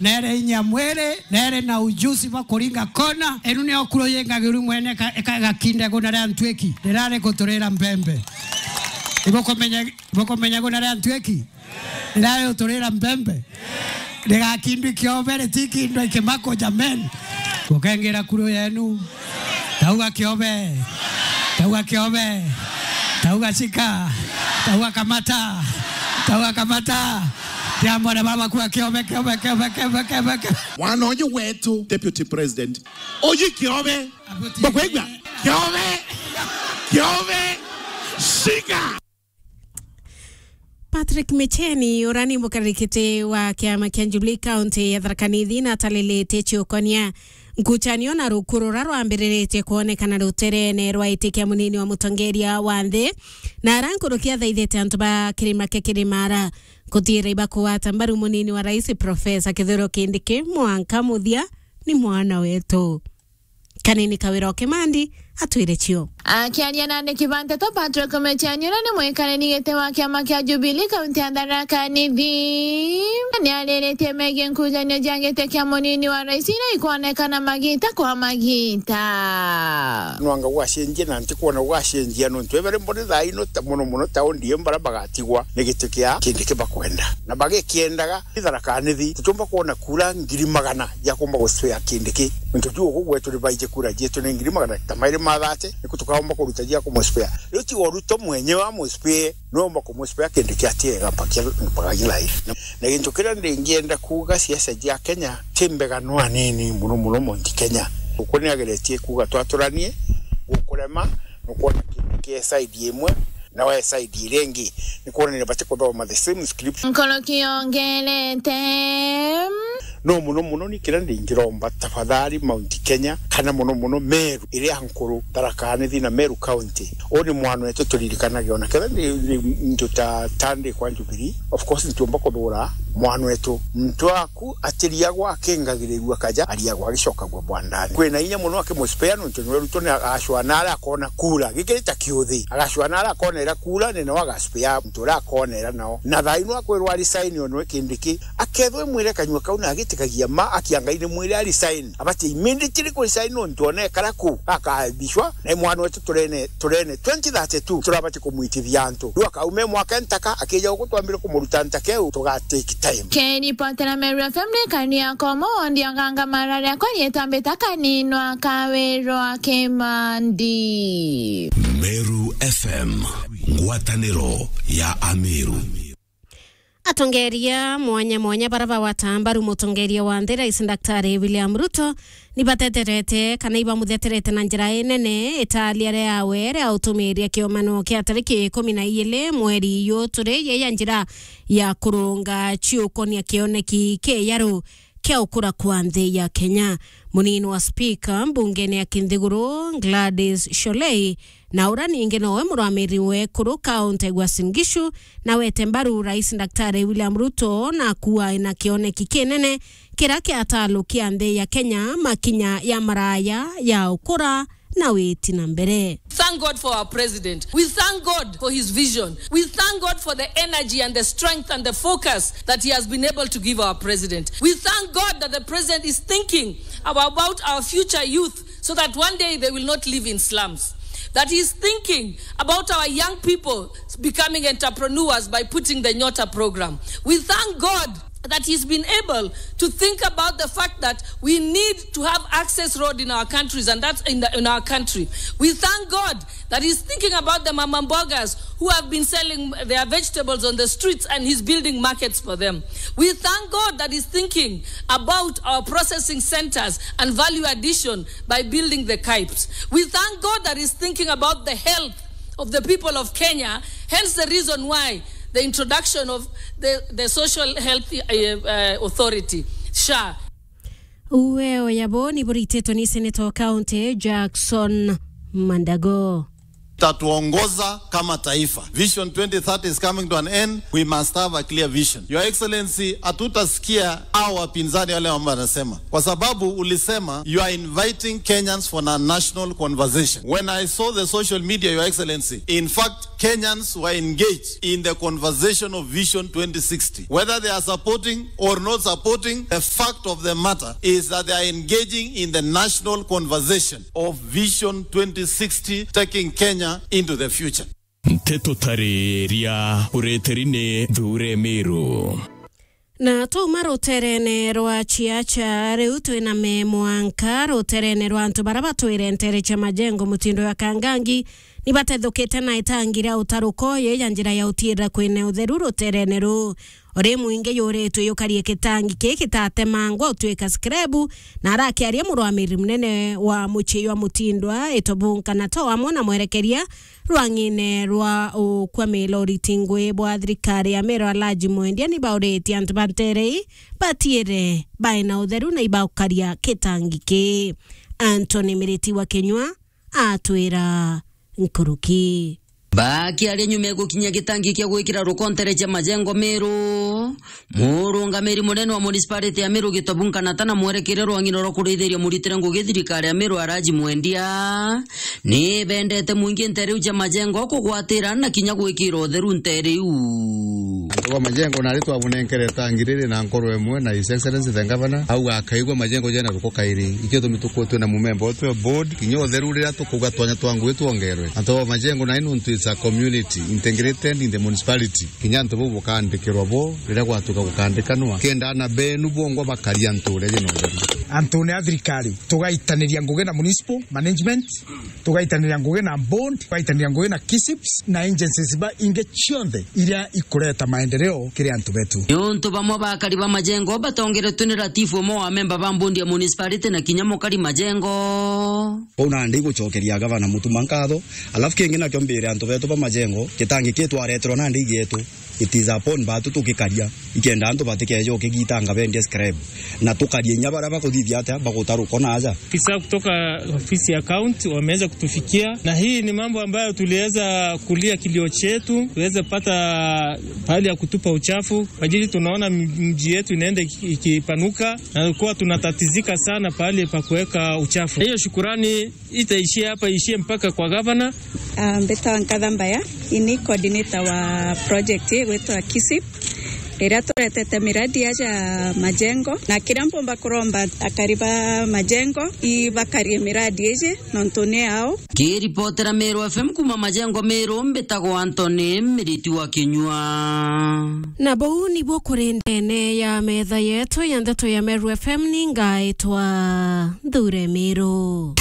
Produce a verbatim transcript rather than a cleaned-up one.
na ere inya mwiri, na ere na ujuzi bwa kuringa kona. Enu nio kuru yingagiru mwene ka-, ka-, gakinde guna ria ntwiki, rirari guturira mbembe. Ibukumenya, ibukumenya guna ria ntwiki? Rirari guturira mbembe. Rigakindwi kiobe, ritikindwa ikimako, jameni. Gukengira kuru yenu. Tauga kiobe. Tauga kiobe. Tauga shika. Tauga kamata. Tauga kamata. Ria mwana baba kuwa kiobe, kiobe, kiobe, kiobe, kiobe, kiobe. Mwana uyu wetu, Deputy President. Uyu kiobe. Bakwigua? Kiobe. Kiobe. Shika. Patrick Micheni, uria ni mukarikiti wa kiama kia Jubilee County ya Tharaka Nithi, na atalilite ciukonia nkucanio na ruku ruria rwambiriritie kwonekana ruterene rwa iti kia munini wa mutongeria wa nthi, na ara nkuruki athaithite antu ba kirima kia Kirimara kuthiira ibakugwata mbaru munini wa rais Professor Kithure Kindiki, mwanka muthia ni mwana wetu. Kanini Kawira o Kimandi atwire cio. Akiaria na andiki ba nteto, Patrick Micheni, uria ni mwikariri giti wa kiama kia Jubilee kaunti ya Tharaka Nithi, ni ariritie megie nkujanio cia giti kia munini wa rais iria ikwonekana magita kwa magita. Nwanga gwacenjia na ntikwona gwacenjia, nontu ebere mbone thaa ino ta muno muno taundi iyo bara bagatigwa ni giti kia Kindiki bakwenda. Na bagikiendaga, Tharaka Nithi, tutiumba kwona kura ngiri magana ya kumba guspea Kindiki. Nontu juu ugu gwetu ni baiji kura jietu ni ngiri magana ta mairi ma thate, niku tukaumba kuruta jia kumuspea. Riu tiga Ruto mwenyewe amuspee, no umba kumuspea Kindiki atiega mpaka, mpaka gilai. Na, na gintu kiria ndingienda kuuga, siasa jia Kenya ti mbega no anini muno muno Mount Kenya. Uku ni ageretie kuuga twaturanie, gukurema, nukwona Kindiki e side imwe, na we side iria ingi, ni kwonania bati kuthoma the same script. Nkoroki yongerete. No muno muno ni kiria ndingiromba, tafadhali, Mount Kenya, kana muno muno Meru iria nkuru, Tharaka Nithi na Meru County. Uu ni mwana wetu, turirikanage ona kethira ni, ni ntu ta Tande kwa Jubilee. Of course, ntiumba kuthura mwana wetu. Muntu aku atiriagwa akingagirirua kaja, ariagwa agicokagua bwandani. Kwina inya muno akimuspea, nontu niwe Ruto ni agacua nara akona kura. Gikiri ta kiuthi. Agacua nara akona ira kura, ni nao agaspea muntu uria akona ira nao. Na thaa ino akwirwa resign onwe Kindiki, akethwe mwire kanyua kau na agitikagia ma, akia Ngai ni mwire a resign. Abati immediately ku resign nontu ona ekara ku, akabishwa, na mwana wetu turene, turene twenty thirty-two, turabati kumwitithia antu. Riu akaume mwaka ntaka, akija guku twambire kumuruta ntaka iu, tuga take time. Keripotera Meru F M ni kani ya Komo, wondi oganga mara riakwa rietwa Mbita Kaninwa Kawirwa Kimandi. Meru F M, ngwataniro ya Ameru. Atongeria mwanya mwanya bara bagwata mbaru mutongeria wa nthi, Rais Daktari William Ruto, ni bateterete kana ibamutheterete na njira inene itaaria riawe ria utumiria kiomano kia tariki ikumi na igiri mweri uyu turi, yeya njira ya kurunga ciukonia kioneki kiaru kia ukura kwa nthi ya Kenya. Munini wa spika mbungene ya Kinthiguru, Gladys Sholei, na uria ningi nowe murugamiri wa ekuru kaunti ya Uasin Gishu, na wete mbaru Rais Daktari William Ruto na kuwa na kioneki kinene kiria kia atalukia nthi ya Kenya makinya ya maraya ya ukura na witi na mbere. Thank God for our president. We thank God for his vision. We thank God for the energy and the strength and the focus that he has been able to give our president. We thank God that the president is thinking about our future youth so that one day they will not live in slums. That he is thinking about our young people becoming entrepreneurs by putting the Nyota program. We thank God that he's been able to think about the fact that we need to have access road in our countries, and that's in, the, in our country. We thank God that he's thinking about the mama mbogas who have been selling their vegetables on the streets, and he's building markets for them. We thank God that he's thinking about our processing centers and value addition by building the KAIPs. We thank God that he's thinking about the health of the people of Kenya, hence the reason why the introduction of the, the Social Health, uh, uh, Authority, SHA. Uwe oyabo ni burititwe ni Senator wa County, Jackson Mandago. tatuongoza kama taifa. Vision twenty thirty is coming to an end. We must have a clear vision. Your Excellency, hatutasikia hao wapinzani wale ambao wanasema, kwa sababu ulisema you are inviting Kenyans for a national conversation. When I saw the social media, Your Excellency, in fact, Kenyans were engaged in the conversation of Vision twenty sixty. Whether they are supporting or not supporting, the fact of the matter is that they are engaging in the national conversation of Vision twenty sixty, taking Kenya into the future. Nteto tariria ureteri ni Thure Miru. Na twauma ruterene rwa Chiacha, riu twina me mwanka ruterene rwa antu bara batwire ntere cia Majengo mutindo ya Kangangi, ni batethukite na itangi ria utaruko ye ya njira ya utiira kwine utheru ruterene ruu. Uri mwingi yuritwe yukarie kitangi ki kitatemangwa utwika skrebu, na arakiaria murwamiri munene wa mucii jwa Mutindwa, Itobu Nkanato amwe na mwerekeria rwang'ine rwa ukwa milori tingwi bwa thirikari ya Meru Alhaji Mwendia ni bauritie antu ba ntere ii batiire baina utheru na ibaukaria kitangi ki. Anthony Miriti wa Kinyua atwira nkuruki. Bakiaria nyuma ya gukinyia gitangi kia gwikira ruko ntere cia Majengo Meru, murungamiri munene wa municipality ya Meru Gitobu Nkanata na mwerekeria rwang'ine rwa kurithiria muritire ngugi thirikari ya Meru Alhaji Mwendia, ni bendete mwingi ntere iu cia Majengo kugwatira na kinya gwikira utheru ntere iu. Antu ba Majengo nari twabunenkere tangi riri na nkoro imwe na His Excellency the Governor, au akaigua Majengo jena ruko kairi. Ikio tumi tukuo twina mumemba utwe board, kinya utheru riria tukuuga twanya twa ngugi twongerwe. Antu ba Majengo nai nuntu it's a community integrated in the municipality. Kinya antu bau bukaandikirwa bo riria gwatuka gukaandikanwa. Kenda ana benu bongwa bakaria ntuura jena utheru. Antu ni a thirikari, tugaitaniria ngugi na municipal management, tugaitaniria ngugi na board, tugaitaniria ngugi na KISIPS na agencies ba ingi cionthe iria ikureta maendeleo kiri antu betu. Niuntu bamwe ba akari ba Majengo batongeretwe ni ratifu umwe wa memba ba board ya municipality na kinya mukari Majengo. Kwou nandi igucokeria gavana Mutuma nkatho, alafu kingi nakio mbire antu betu ba Majengo, gitangi ki twareterwa nandi igietu. It is upon batu tukikaria, ikenda antu batikeje ukigitanga bendie scrap. Na tukarie inya baria bakuthithia atia, baguta ruko na aja. Afisa kutoka ofisi ya county wameweza kutufikia, na hii ni mambo ambayo tuliweza kulia kilio chetu, tuweze pata pahali ya kutupa uchafu, kwa ajili tunaona m-, mji yetu inaenda iki-, ikipanuka, na kuwa tunatatizika sana pahali pa kuweka uchafu. Hiyo shukurani itaishia hapa, ishie mpaka kwa gavana. Ah, mbetawa Nkatha Mbaya, ini coordinator wa project igwitwa KISIP, iria turetete miradi aja Majengo, na kiria mpumba kuromba akari ba Majengo ibakarie miradi iji nontu ni ao. Kiripotera Meru F M kuma Majengo Meru, mbitagwa Anthony Miriti wa Kinyua. Na bau nibuo kuri ndene ya metha yetu ya ndeto ya Meru F M, ni ngaitwa Thure Miru.